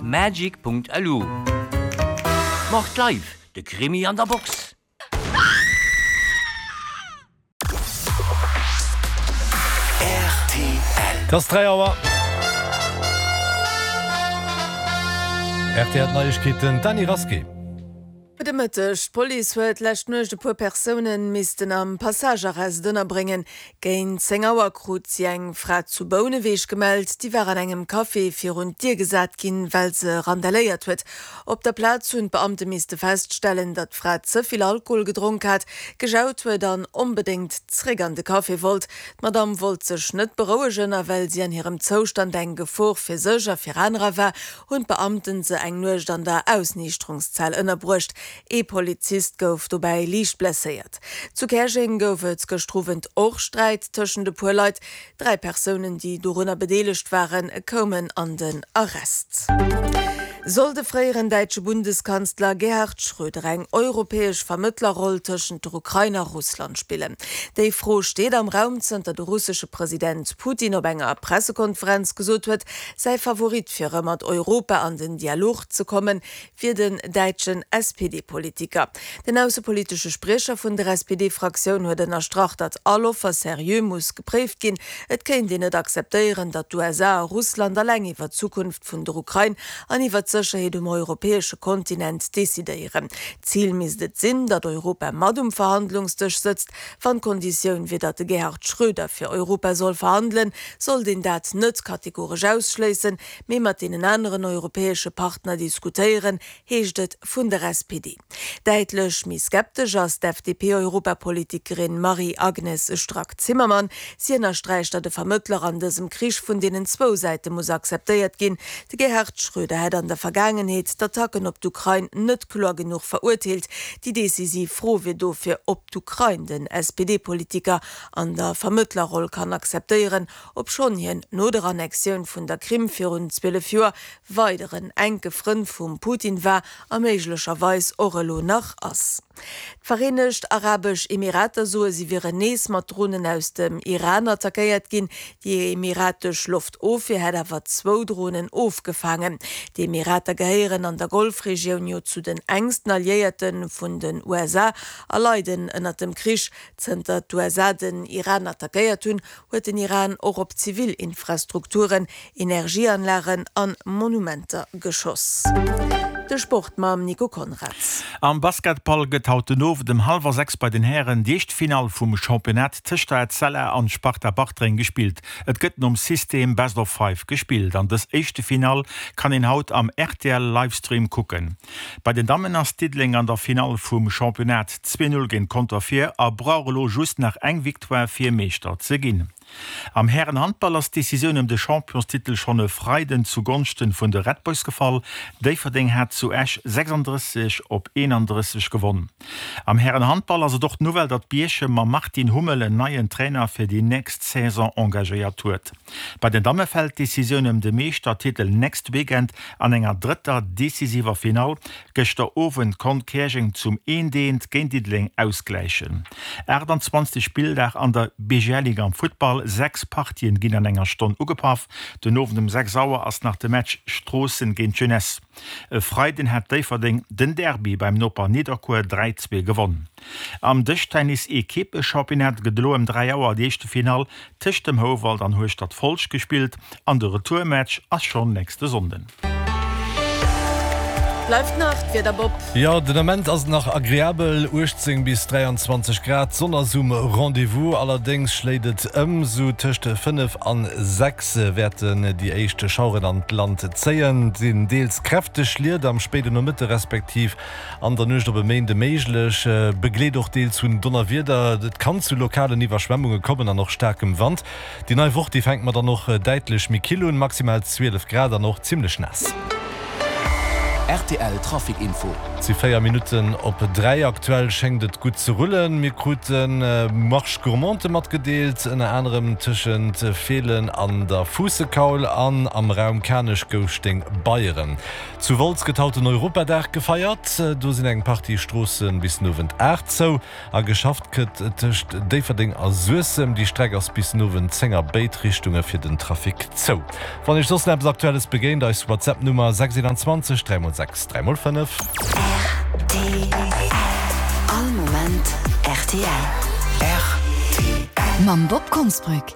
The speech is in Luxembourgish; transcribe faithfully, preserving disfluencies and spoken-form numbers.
magic.lu. Mord Live, de Krimi an der Box. Et ass dräi Auer. Rtl Neiegkeeten, d'Dany Rasqué. Gudde Mëtteg. D'Police huet lescht Nuecht e puer Persoune missten am Passagearrest ënnerbréngen. Géint zéng Auer krut si eng Fra zu Bouneweg gemellt. Déi war an engem Café virun d'Dier gesat ginn, well se randaléiert huet. Op der Plaz hunn d'Beamte misste feststellen, datt d'Fra ze vill Alkohol gedronk hat, gejaut huet an onbedéngt zréck an de Café wollt. D'Madamm wollt sech net berouegen a well si an hirem Zoustand eng Gefor fir sech a fir anerer war, hunn d'Beamten se eng Nuecht an der Ausniichterungszell ënnerbruecht. Ee Polizist gouf dobäi liicht blesséiert. Zu Käerjeng gouf et gëschter Owend och Sträit tëschent e puer Leit. Dräi Persounen, déi dorunner bedeelegt waren, koumen an den Arrest. Soll de fréieren däitsche Bundeskanzler Gerhard Schröder eng europäesch Vermëttlerroll tëschent der Ukrain a Russland spillen? Déi Fro steet am Raum, zënter de russesche President Putin op enger Pressekonferenz gesot huet, säi Favorit fir erëm mat Europa an den Dialog ze kommen, wier den däitschen S P D-Politiker. Den aussepolitesche Spriecher vun der S P D-Fraktioun huet ënnerstrach, datt all Offer seriö muss gepréift ginn. Et kéint een net akzeptéieren, datt d'U S A a Russland alleng iwwer d'Zukunft vun der Ukrain an iwwer d'Sécherheet um europäesche Kontinent decidéieren. D'Zil misst et sinn, datt Europa mat um Verhandlungsdësch sëtzt. Wann d'Konditioun wier, datt de Gerhard Schröder fir Europa soll verhandelen, sollt een dat net kategoresch ausschléissen, mee mat deenen aneren europäesche Partner diskutéieren, heescht et vun der S P D. Däitlech méi skeptesch ass d'F D P-Europapolitikerin Marie-Agnes Strack-Zimmermann. Si ënnersträicht, datt e Vermëttler an dësem Krich vun deenen zwou Säite muss akzeptéiert ginn. De Gerhard Schröder hätt an der Vergaangenheet d'Attacken op d'Ukrain net kloer genuch verurteelt. Déi decisiv Fro wier dofir, ob d'Ukrain den S P D-Politiker an der Vermëttlerroll kann akzeptéieren, obschonn hien no der Annexioun vun der Krim virun zwielef Joer weideren enke Frënd vum Putin war a méiglecherweis och elo nach ass. D'Vereenegt Arabesch Emirater soe si wieren nees mat Dronen aus dem Iran attackéiert ginn. Déi emiratesch Loftofwier hätt awer zwou Dronen ofgefaangen. Déi Emirater gehéieren an der Golfregioun jo zu den engsten Alliéierte vun den U S A a leiden ënner dem Krich. Zënter d'U S A den Iran attackéiert hunn, huet den Iran och op Zivilinfrastrukturen, Energieanlagen an Monumenter geschoss. De Sport mam Nico Konrads. Am Basketball gëtt haut den Owend um hallwer sechs bei den Hären déi éischt Finall vum Championnat tëscht der Etzella an Sparta Bartreng gespillt. Et gëtt nom System Best of Five gespillt. An dës éischte Finall kann een haut am R T L Livestream kucken. Bei den Dammen ass Diddeleng an der Finall vum Championnat zwee null géint Conter vir a brauch elo just nach eng Victoire fir Meeschter ze ginn. Am Herrenhandball ass d'Decisioun ëm de Championstitel schonn e Freiden zugonschten vun de Red Boys gefall. Déifferdeng hat zu Esch sechsunddrësseg op eenandrësseg gewonnen. Am Herrenhandball ass et och d'Nouvelle, datt Bierchem mam Martin Hummel en neien Trainer fir déi nächst Saison engagéiert huet. Bei den Damme fält d'Decisioun ëm de Meeschtertitel next Weekend an enger drëtter decisiver Finall. Gëschter Owend konnt Käerjeng zum eent-eent géint Diddeleng ausgläichen. achtundzwanzeg Spilldag an der B G L Liga am Futtball. Sechs Partien ginn an enger Stonn ugepaff. Den Owend um sechs Auer ass nach de Match Stroossen géint Jeunesse. E Freiden hat Déifferdeng den Derby beim Noper Nidderkuer dräi zwee gewonnen. Am Dëschtennis-Equipe-Championnat gëtt elo ëm dräi Auer déi éischte Finall tëscht dem Houwald an Hueschtert Folsch gespillt an de Retourmatch ass schonn nächste Sonnden. Bleift nach d'Wieder, Bob? Jo, den Ament ass et nach agreabel, uechtzéng bis dräianzwanzeg Grad, d'Sonn ass um Rendez-vous. Allerdéngs schléit et ëm, sou tëscht fënnef an sechs wäerten déi éischt Schaueren an d'Land zéien. Et sinn deels kräfteg Schliet am spéiden Nomëtte respektiv an der Nuecht op e Méinde méiglech, begleet och deels vun Donnerwieder. Et kann zu lokalen Iwwerschwemmunge kommen an och staarkem Wand. Déi nei Woch, déi fänkt mat dann och däitlech méi kill un, maximal zwielef Grad an och zimmlech naass. R T L Trafic Info. Et si véier Minutten op dräi. Aktuell schéngt et gutt ze rullen. Mir krute Marche gourmande matgedeelt, ënner anerem tëschent Feelen an der Fuussekaul an am Raum Kanech-Gouschteng-Beyeren. Zu Wolz gëtt haut den Europadag gefeiert. Do sinn eng Partie Stroosse bis den Owend aacht zou a geschafft gëtt tëscht Déifferdeng a Suessem. Déi Streck ass bis den Owend zéng a béid Richtunge fir den Trafic zou. Wann Iech soss nach eppes Aktuelles begéint, eis WhatsApp-Nummer sechs eenanzwanzeg dräi mol sechs dräi mol fënnef. Rtl. All Moment rtl. Rtl. Mam Bob Konsbrück.